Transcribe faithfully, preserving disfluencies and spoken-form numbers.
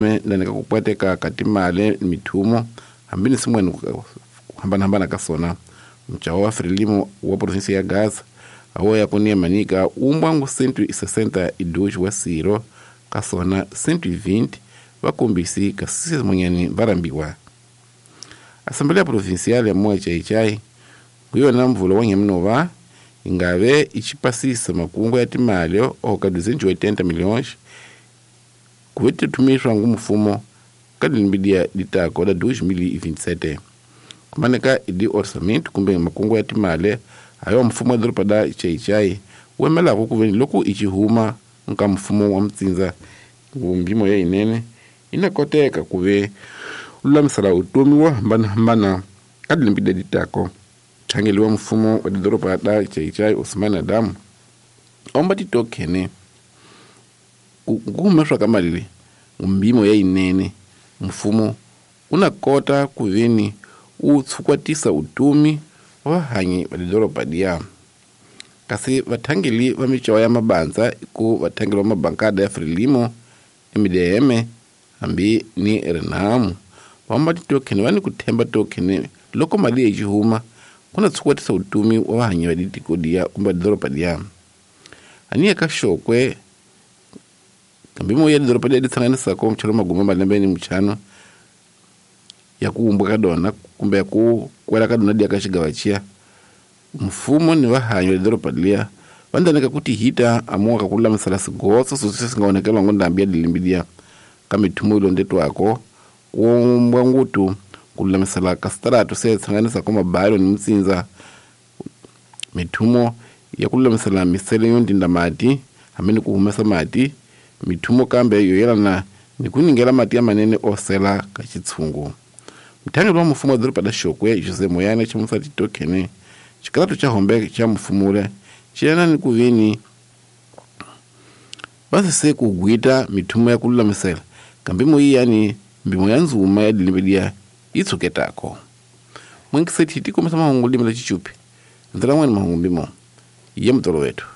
Ndani ka ku pwateka ka timali mithumo hambi ni swin'wana ku hambanahambana ka swona. Mutjaho wa Frelimo wa província ya Gaza awo ya ku Manica wu cento e sessenta e dois wa swirho ka swona cento e vinte vakombisi kasi swin'wanyani va rhambiwa. Assembleia Provincial ya Moa Chaichai hi yona mvula wa Nyamunova yi nga ve yi xipasisa makungu ya timali oka duzentos e oitenta milhões ku ve tithumiswa ngu mfumo ka lembe litako la dois mil e vinte e sete. Kumaneka idi orçamento kumbe makungu ya timali hayo mfumo wa doroba da Chaichai wu emelaka ku veni loko i xihuma nka mfumo wa mtsindza mbimo ya yinene yi na koteka ku ve lulamisela vutomi wo hambanahambana ka lembe leti tako. Mthangeli wa mfumo wa doroba da Chaichai Osman Adam omba titokhene ku humeswa ka mali leyi mbimo ya yinene mfumo wu na kota ku veni wu tshukwatisa vutomi wa vahanyi va doroba liya. Kasi vathangeli va micawa ya mabandza ku vathangeli va mabankada ya Frelimo, M D M hambi ni Renamo vamba titokhene va ni ku themba tokhene loko mali yi huma ku na tshukwatisa vutomi wa vahanyi va tiko liya kumbe doroba liya. Aniya ka Xokwe kambe mo ya doroba leri tsanganisaka mchelo magume malembe ni mchano ya ku wumba ka dona kumbe ya ku kwela ka dona dia ka xigava xiya mfumo ni vahanyi va doroba liya va ndaneka ku tihita amuka ku lulamisela swigotso sweswi swi nga onhakeriwa ngo ndhambi ya dilimbi liya ka mithumo yi londetiwako ku wumbwa ngutu ku lulamisela ka switaratu se tsanganisaka mabalo ni mitsindza mithumo ya ku lulamisela misele yo ndinda mati hambi ni ku humesa mati mithumo kambe yo yelana ni ku ningela mati ya manene osela ka xitshungu. Mthangeli wa mfumo wa doroba la Xokwe Jose Moyane ximusa titokhene xikaratu xa hombe xa mfumule xi yelana ni ku veni va sese ku gwita mithumo ya ku lulamisela kambe moyiyani mbimo ya ndzuma ya dilembe liya yi tshuketako. Mwingiseti ti kombisa mahungu limi la Xichupi ndzela n'wani mahungu mbimo ya mutolo wetu.